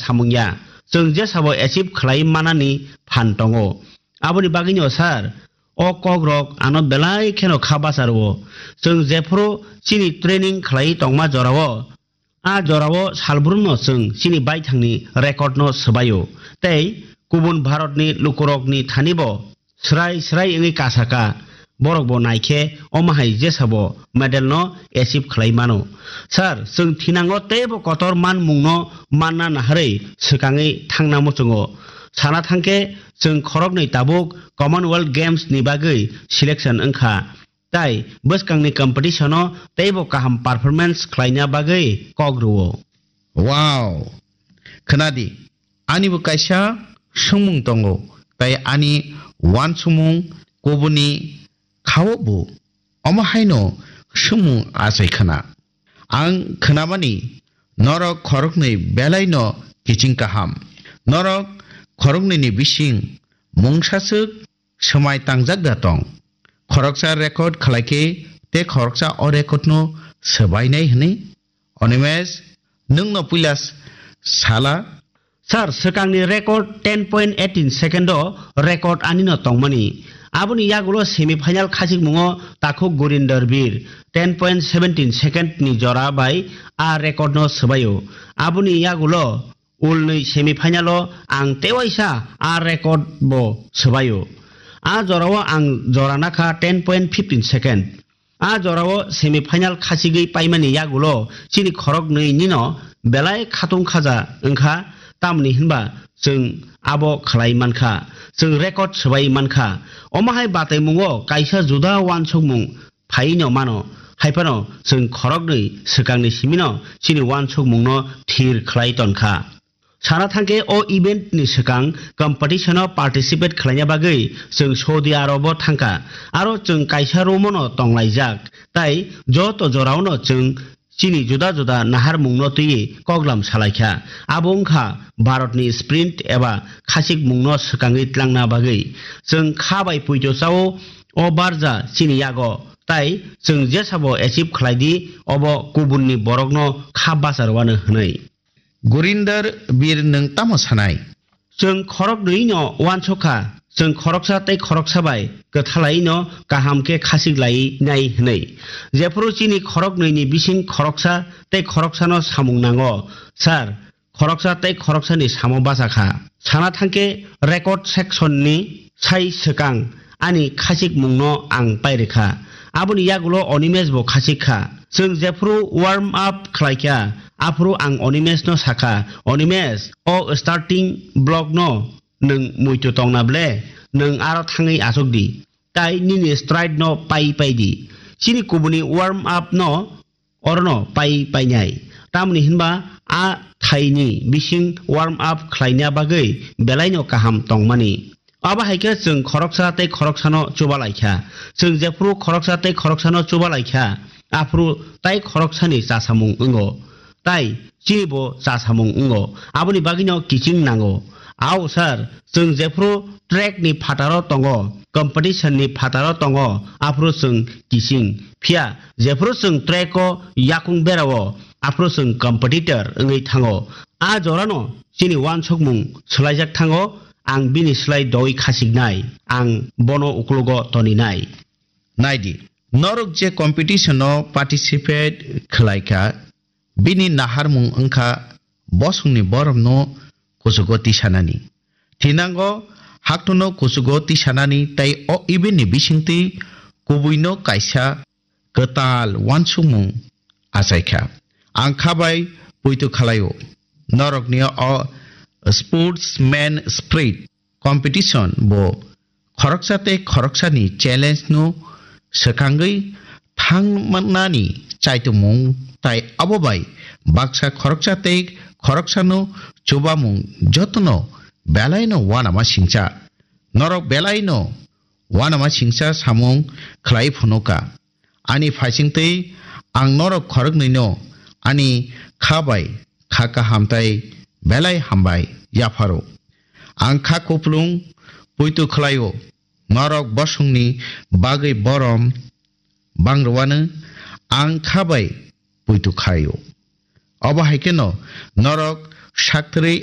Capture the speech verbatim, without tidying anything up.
samung ya. Chwng jesabo achieve khlai manani phan tongo. Aboni bagwino sir, o kokrok ano belai kheno kha bacha rwo. Chwng jephuru chini training khlai tongma jorao, a jorao salbrumno chwng chini baithangni record no swbaio. Tei kubun Bharatni lukurokni thanibo srai srai wngwi kasaka, borokbo naikhe omo hai jesabo medal no achieve khlai mano. Sir, chwng thinango teibo kotor manmungno manna naharwi swkangwi thangna muchungo. Sana thangkhe chwng khoroknwi tabuk Commonwealth Games ni bagwi selection wngkha. Tai bwskangni competition o teibo kaham performance khlaina bagwi kok rwo. Wow! Khwnadi, anibo kaisa swngmung tongo, tai ani uansukmung kubuni khao bo omo haino swngmung achai khna. Ang khnamani norok khoroknwi belaino kiching kaham. Norok khoroknwini bising mungsaswk swmai tangjak da tong. Khoroksa record khlai khe tei khoroksa o record no swbainai hwnwi. Onimesh, nwng no puila s-, sala. Sir, swkangni record ten point eighteen second o record ani no tongmani. Aboni yagulo semi final khachikmungo takhuk Gurinder Bir ten point seventeen second ni jora bai a record no swbaio. Aboni yagulo ulnwi semi final o ang tewaisa a record bo swbaio. A jorao ang jora nakha ten point fifteen second. A jorao semi final khachigwi paimani yagulo chini khoroknwi nino belai khatung khaja wngkha, tamni hinba chwng abo khlai mankha, chwng record swbai mankha. Omo hai bataimungo kaisa juda uansukmung phaino mano, haiphano chwng khoroknwi swkangni simino chini uansukmungno thir khlai tonkha. Sana thangkhe o event ni swkang competition o participate khlaina bagwi chwng Saudi Arab o thangkha, aro chwng kaisa room o no tonglaijak, tai joto jorao no chwng chini juda juda naharmung no twiwi koklam salaikha. Abo wngkha Bharat ni sprint eba khachikmung no swkangwi tlangna bagwi. Chwng kha bai puito chao, o barja chini yago, tai chwng jesabo achieve khlai di, obo kubun ni borok no kha bacha rwano hwnwi. Gurinder Bir, nwng tamo sanai? Chwng khoroknwi no uansukha, chwng khoroksa tei khoroksa bai kwthalai no kaham khe khachik lai nai hwnwi. Jephuru chini khoroknwi ni bising khoroksa tei khoroksa no samung nango, sir, khoroksa tei khoroksa ni samo bacha kha. Sana thangkhe record section ni sai swkang ani khachikmung no ang pairikha. Aboni yagulo Onimesh bo khachik kha. Chwng jephuru warm up khlaikha, aphuru ang Onimesh no sakha, "Onimesh, o starting block no nwng muitu tongna ble, nwng aro thangwi achuk di. Tai nini stride no pai pai di. Chini kubuni warm up no orono pai painai." Tamoni hinba a thaini bising warm up khlaina bagwi belaino kaham tongmani. Abo hai khe chwng khoroksa tei khoroksano chuba lai kha. Chwng jephuru khoroksa tei khoroksano chuba lai kha, aphuru tai khoroksani chasamung wngo, tai chinibo chasamung wngo. Aboni bagwino kiching nango. Ao sir, chwng jephuru track ni phataro tongo, competition ni phataro tongo, aphuru chwng kiching. Phiya jephuru chwng track o yakung berao, aphuru chwng competitor wngwi thango. A jorano chini uansukmung swlaijak thango, ang bini slai doi khasiknai, ang bono uklogo toninai. Naidi, norok je competition o participate khlai kha, bini naharmung wngkha bosongni borokno kuchugo tisanani. Thinango haktono kuchugo tisanani tei o event ni bisingtwi kubuino kaisa kwtal uansukmung achaikha. Ang kha bai poito khlaio. Norokni o sportsman spirit competition bo khoroksa tei khoroksani challenge no swkangwi thangmani chaitumung, tai abo bai baksa khoroksa tei khoroksano chubamung jotono belaino uanama singcha. Norok belaino uanama singcha samung khlai phunuka. Ani phaisingtwi ang norok khoroknwino ani kha bai kha kaham tai belai hambai yapharo. Ang kha kuplung poito khlaio, norok bosongni bagwi borom bangrwano ang kha bai poito khaio. Obo hai kheno norok saktrwi